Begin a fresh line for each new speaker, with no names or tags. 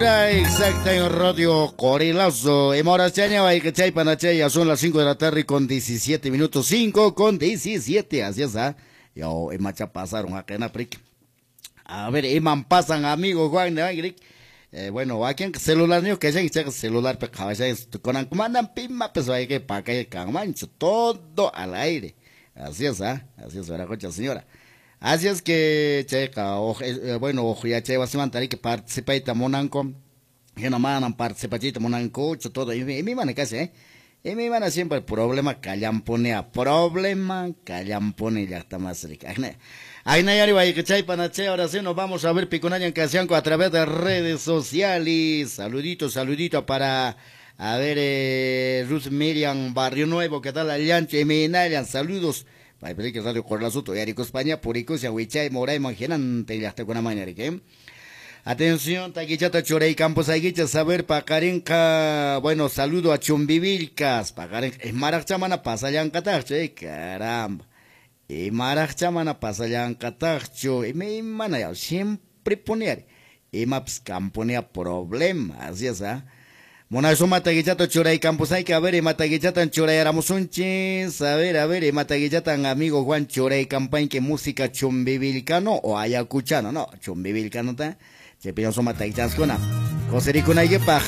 Exacta en Radio Corilazo. Emorachaña, ya son las 5 de la tarde con 17 minutos. 5 con 17. Así es, ¿ah? Yo, emacha pasaron acá en África. A ver, iman pasan, amigo Juan de bueno, aquí en celular, no que ya celular, con mandan pima, pues hay que pa' que mancho, todo al aire. Así es, ¿ah? Así es, verá, señora. Así es que, checa, bueno, ojo, ya che, vas a que participar monanco, que no mandan participachito monanco, todo, y mi mana casi, ¿eh? Y mi mana siempre problema callamponea, problema callampone, ya está más rica. Ay, Nayari, chay, panache, ahora sí nos vamos a ver Picunayan Casianco a través de redes sociales. Saludito, saludito para, a ver, Ruth Miriam Barrio Nuevo, ¿qué tal? Allanche, Minayan, saludos. Paiprique Radio Corlazuto, Yarico España, Puricusia, Huichay, Moray, Mangenante, y hasta con la mañana, ¿qué? Atención, Taquichata, Chorey, Campos, Aguicha, saber, Pacarenca, bueno, saludo a Chumbivilcas, Pacarenca, es Marachamana, Pasallancatache, caramba. Y Marachamana, Pasallancatacho, y me mana, ya, siempre poner, y maps camponea problema, así es, ¿ah? Monazo mataguichato churay campos hay que a ver y mataguichatan churay aramusunchis a ver y mataguichatan amigo Juan churay campañ que música chumbivilcano o ayacuchano no chumbivilcano ta se pido son mataguichascona cosericuna y paj.